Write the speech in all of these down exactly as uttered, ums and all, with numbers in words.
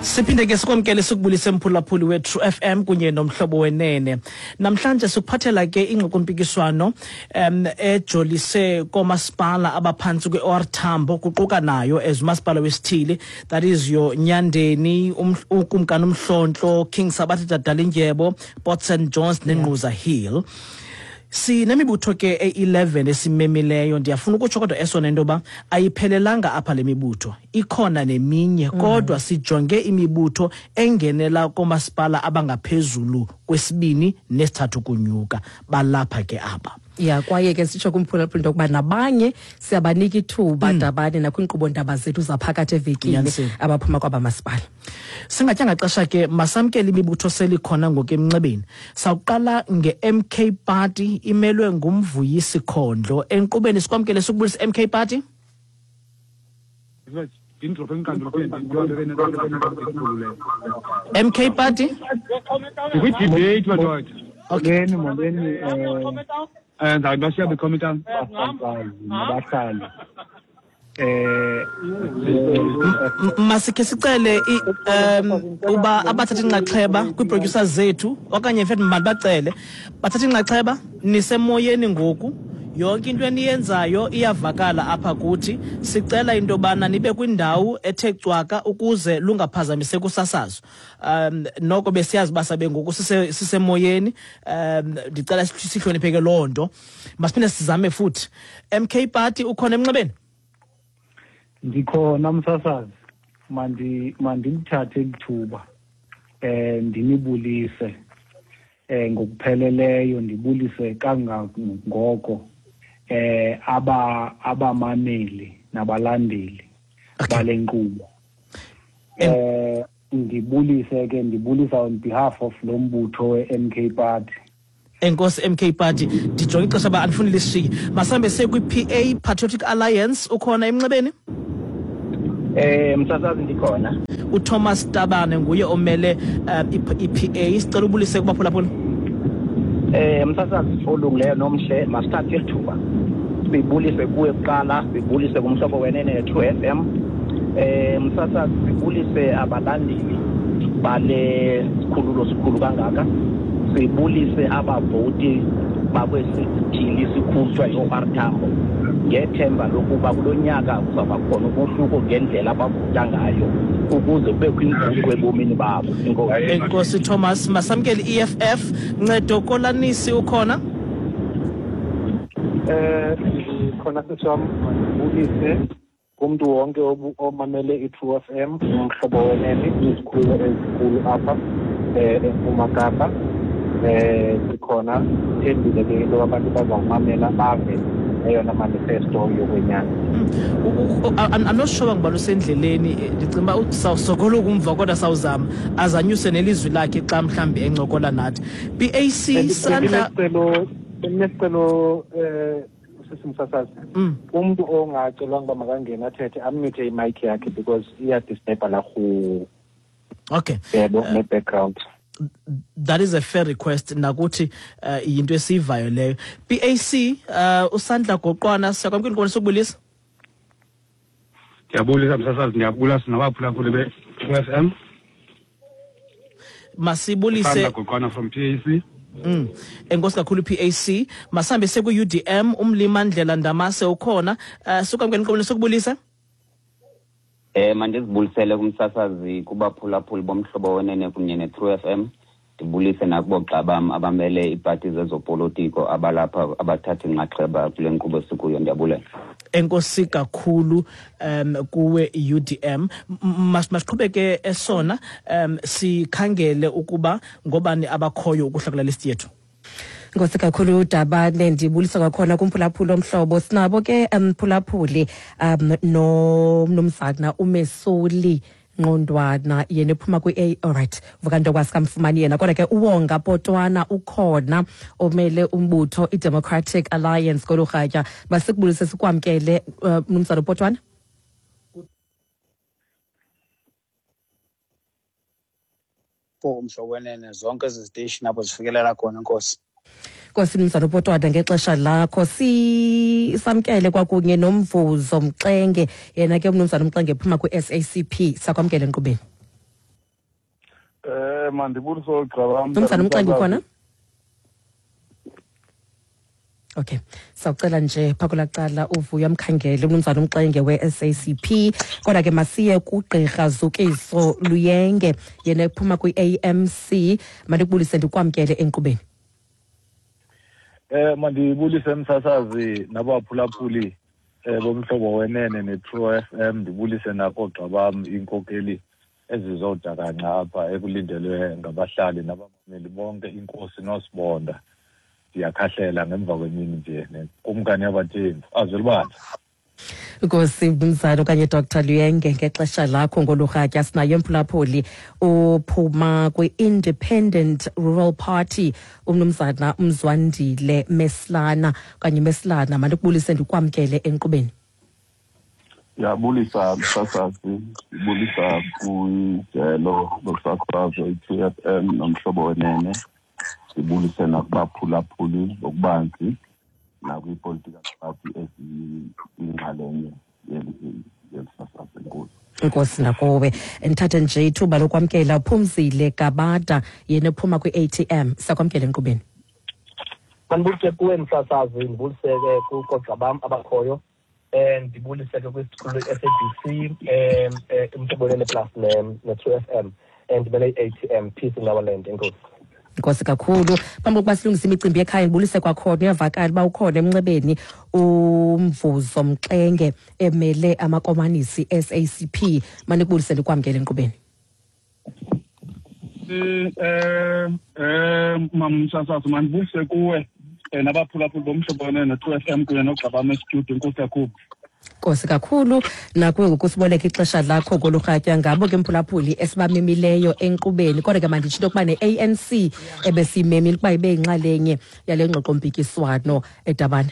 Siphinde ke sikwamkele sikubulise mphulaphuli we-True F M kunye nomhlobo wenene. Namhlanje sikuphathela ke ingxoxompikiswano um ejolise koomasipala abaphantsi kwe-O R Tambo, kuquka nayo as umasipala wesithili, that is your Nyandeni, uKumkani Umhlontlo, King Sabatha Dalindyebo, Port Saint Johns neNgquza Hill. Sinemibutho ke e-eleven esimemileyo. Ndiyafuna ukutsho kodwa esona into yoba ayiphelelanga apha le mibutho, ikhona neminye, kodwa sijonge imibutho engenela koomasipala abangaphezulu kwesibini nesithathu kunyuka, balapha ke apha. Ya, kwaye ke sitsho kumphulaphuli into yokuba nabanye siyabanika ithuba dabane nakwiinkqubo ndaba zethu zaphakathi evekini abaphuma kwaba masipala. Singatyanga xesha ke, masamkele imibutho selikhona ngoku emnxebeni. Sawuqala nge-M K Party, imelwe nguMvuyisi Khondlo. Enkqubeni sikwamkele sikubulise M K Party. M K Party? Kwi-debate madoda. Okay. Molweni, molweni, eh, ndawubashiya bekhomita. Nabahlali. Eh, masikhe sicele um uba abathatha inxaxheba kwii-producers zethu okanye in fact mandibacele bathathe inxaxheba, nisemoyeni ngoku. Yonke into eniyenzayo iyavakala apha kuthi. Sicela into yobana nibe kwindawo ethe cwaka ukuze lungaphazamiseki usasazo. Um noko besiyazi uba sabe ngoku sisemoyeni, um ndicela sihlonipheke loo nto. Masiphinde sizame futhi. M K Party, ukhona emnxebeni? Ndikhona msasazi. Mandi mandilithathe ithuba eh ndinibulise eh ngokupheleleyo, ndibulise kangangoko eh aba abamameli nabalandeli bale nkqubo. Eh ndibulise ke, ndibulisa on behalf of lo mbutho we-M K Party. Enkosi M K Party, ndijonge ixesha uba andifuni lishiye. Masambe siye kwi-P A, Patriotic Alliance, ukhona emnxebeni? Eh msasazi ndikhona. uThomas Tabane nguye omele uh, i-P A. Sicela ubulise kubaphulaphuli. Eh msasazi olungileyo nomhle, masithathe ithuba sibulise kuwe kuqala, sibulise kumhlobo wenene True F M. Eh msasazi sibulise abalandeli bale sikhululo sikhulu kangaka, sibulise abavoti bakwesithili sikhulu kuthiwa yi-O R Tambo, ngethemba lokuba kulo nyaka kuzawuba khona umohluko ngendlela abavota ngayo ukuze kubekho inguqu ebomini babo. Enkosi. Enkosi Thomas. Masamkele i-E F F. Ncedo Kolanisi ukhona? Eh ndikhona sisi wam, mandibulise kumntu wonke omamele i-True F M, umhlobo wenene, izikhululo ezinkulu apha eh eMpuma Kapa. Eh sikhona, sithembile ke into abantu bazawumamela bave eyona manifesto yokwenyani. I'm not sure ngubani usendleleni, ndicinga uba sawusokola ukumva kodwa sawuzama azanyuse nelizwi lakhe xa mhlawumbi encokola nathi. B A C Sandla, Ndinesicelo eh sisi msasazi, umntu ongacelwanga uba makangene athethe amute imic yakhe because iyadisturba la rhu. Okay. Yebo, ne-background. That is a fair request nakuthi uh, yinto esivayo leyo. B A C uh, uSandla Goqwana, siyakwamkela inkqubo sokubulisa. Ndiyabulisa msasazi, ndiyabulisa nabaphulaphuli be-True F M. Masibulise Sandla Goqwana from P A C. Mm. Enkosi kakhulu P A C. Masambe seku U D M, uMlimandlela Ndamase ukhona. Uh, sikwamkela inkqubo sokubulisa. Eh mandizibulisele kumsasazi, kubaphulaphuli bomhlobo wenene kunye ne-True F M. Ndibulise nakubogxa bam abamele iipati zezopolitiko abalapha abathatha inxaxheba kule nkqubo sikuyo. Ndiyabulela. Enkosi kakhulu um kuwe U D M. Masiqhubeke esona um sikhangele ukuba ngobani abakhoyo ukuhla kula list yethu. Nkosi kakhulu Dabane, ndibulisa kwakhona kumphulaphuli omhlobo. Sinabo ke mphulaphuli um nomnumzana uMesoli Nqondwana, yena ephuma kwi-A. Alright, vuka nto kwasikamfumani yena. Kodwa ke uWonga Potwana ukhona omele umbutho i-Democratic Alliance kolu rhatya. Masikubulise sikwamkele mnumzana Potwana. Umhlobo wenene, zonke ezi ziteshi apho zifikelela khona. Nkosi. Nkosi mnumzana uPotwana ngexesha lakho. Sisamkele kwakunye noMvuzo Mxenge, yena ke umnumzana Mxenge ephuma kwi-S A C P. Sakwamkele enkqubeni. Eh mandibulise ogxa bam. Mnumzana uMxenge ukhona? Okay, sawucela nje phaa cala uVuyo amkhangele umnumzana uMxenge we-S A C P. Kodwa ke masiye kugqirha Zukiso Luyenge, yena ephuma kwi-A M C. Mandikubulise ndikwamkele enkqubeni. Eh mandibulise msasazi nabaphulaphuli eh bomhlobo wenene ne-True F M, ndibulise nakoogxa bam iinkokeli ezizodakanca apha ekulindelwe ngabahlali nabamameli bonke, inkosi noSibonda. Ndiyakhahlela ngemva kwemini nje nekumkani yabathembu azwelibandla. Nkosi mnumzana okanye Doctor Luyenge ngexesha lakho ngolurhatya. Sinaye mphulaphuli uphuma kwi-Independent Rural Party umnumzana uMzwandile Meslana okanye Meslana. Mandikubulise ndikwamkele enkqubeni. Ndiyabulisa msasazi, ndibulisa kwijelo lokusasazo i-True F M nomhlobo wenene, ndibulise nakubaphulaphuli ngokubanzi nakwi-political party eziyinxalenye yelisasazo. Enkosi. Nkosi nakuwe. Ndithathe nje ithuba lokwamkela uPhumzile Gabada, yena ephuma kwi-A T M. Sakwamkela enkqubeni. Mandibulise kuwe msasazi, ndibulise ke koogxa bam abakhoyo, um ndibulise ke kwisikhululo i-S A B C, um Umhlobo Wenene plus ne-True F M, ndimele i-A T M. Peace in our land. Enkosi. Nkosi kakhulu. Phambi kokuba silungise imicimbi yekhaya, ndibulise kwakhona, uyavakala uba ukhona emnxebeni uMvuzo Mxenge emele amakomanisi S A C P. Mandikubulise ndikwamkele enkqubeni. Eh eh mamsasazi, mandibulise kuwe nabaphulaphuli bomhlobo wenene ne-True F M kunye nogxa bam estudio. Enkosi kakhulu. Nkosi kakhulu nakuwe ngokusiboleka ixesha lakho kolurhatya. Ngabo ke mphulaphuli esibamemileyo enkqubeni. Kodwa ke manditsho into yokuba ne-A N C ebesiyimemile ukuba ibe yinxalenye yale ngxoxompikiswano eDabane.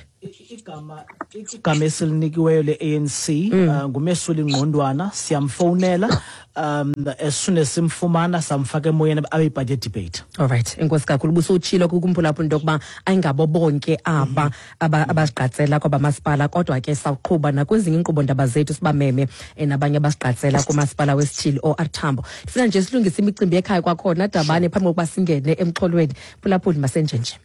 Igama igama esilinikiweyo le-A N C nguMesuli Ngqondwana. Siyamfowunela um as soon as simfumana samfaka emoyeni abe yipati ye-debate. All right, enkosi kakhulu. Ubusutshilo kumphulaphuli into yokuba ayingabo bonke aba abazigqatsela kwabamasipala, kodwa ke sawuqhuba nakwezinye iinkqubo ndaba zethu sibameme nabanye abazigqatsela kumasipala wesithili O R Tambo. Ndifuna nje silungise imicimbi yekhaya kwakhona Dabane phambi kokuba singene emxholweni. Mphulaphuli, masenjenje.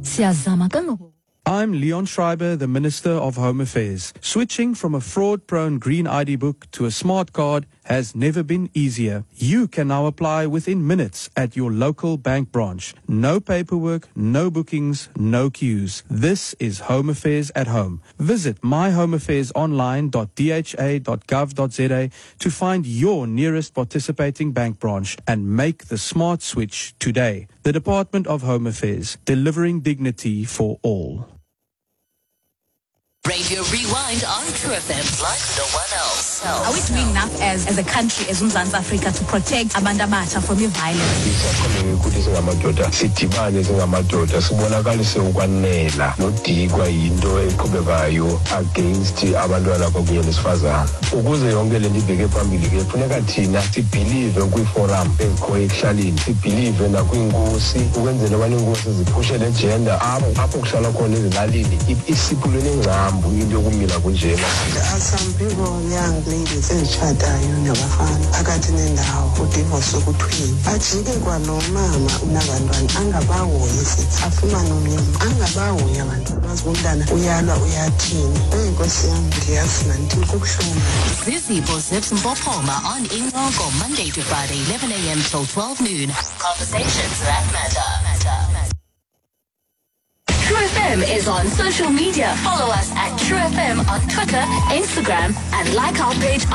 Siyazama kangoko. I'm Leon Schreiber, the Minister of Home Affairs. Switching from a fraud-prone green I D book to a smart card has never been easier. You can now apply within minutes at your local bank branch. No paperwork, no bookings, no queues. This is Home Affairs at home. Visit my home affairs online dot d h a dot gov dot z a to find your nearest participating bank branch and make the smart switch today. The Department of Home Affairs, delivering dignity for all. Radio Rewind on True F M like no one else. Are we doing enough as, as a country, as Umzantsi Afrika, to protect abantu abatsha from violence? Ukuthi singamadoda sidibane, singamadoda sibonakalise ukwanela nodikwa yinto eqhubekayo against abantwana kwakunye nesifazana. Ukuze yonke le nto ibheke phambili ke funeka thina sibhilive kwiiforum ezikhoyo ekuhlaleni, sibhilive nakwiinkosi ukwenzela ubana iinkosi ziphushe le gender apho apho kuhlala khona ezilalini isiphulo nengcambu into yokumila kunjena. There are some people, young ladies ezitshatayo nabafana phakathi nendawo udivorce ukuthwini ajike kwalo mama unabantwana angabahoyi, afumane omnye angabahoyi abantwana bazi umntana uyalwa uyathini. Eyi nkosi yam, ndiyazi mandithini kubuhlungu. Zizipho Zips Mpophoma on Incoko, Monday to Friday, eleven a m till twelve noon. Conversations that matter. True F M is on social media. Follow us at True F M on Twitter, Instagram, and like our page on